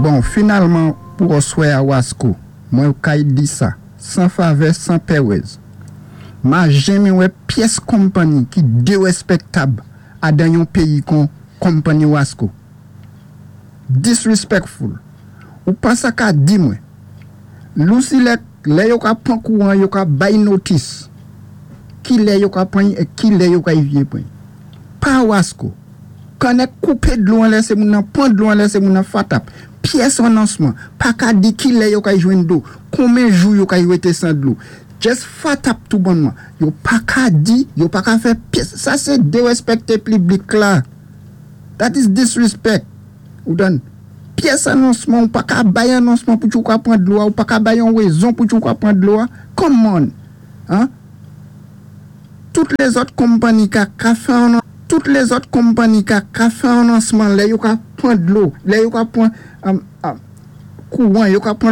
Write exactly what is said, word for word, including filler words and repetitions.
Bon, finalman pou aswè a Wasco, mwen kay di sa, san favè, san pèwèz. Ma jenmen wè pyès konpanni ki dérespèktab adan yon péyi kon konpanni Wasco. Disrespectful. Ou pa sa ka di mwen. LUCELEC, lè yo ka pwan kouwan, yo ka bay notice. Ki lè yo ka pwan, é ki lè yo ka vyé pwan. Pa Wasco. Kannèk koupé dlo an lèsé moun nan pwan dlo an lèsé moun nan fatap. Pyès anonsman. Pa ka di ki lè yo ka jwenn dlo. Konmen jou yo ka wété san dlo. Just fatap tou bonnman. Yo pa ka di, yo pa ka fè pyès. Sa sé dérespèkté piblik la. That is disrespect. Ou dan, pyès anonsman, ou pa ka bay anonsman pou yo ka pwan dlo a, ou pa ka bay yon wézon pou yo ka pwan dlo a. Come on. Hein? Tout lézòt konpanni ka ka fè an tout lézòt konpanni ka ka fè anonsman lè yo ka pwan dlo, lè yo ka pwan um, um, kouwan, yo ka pwan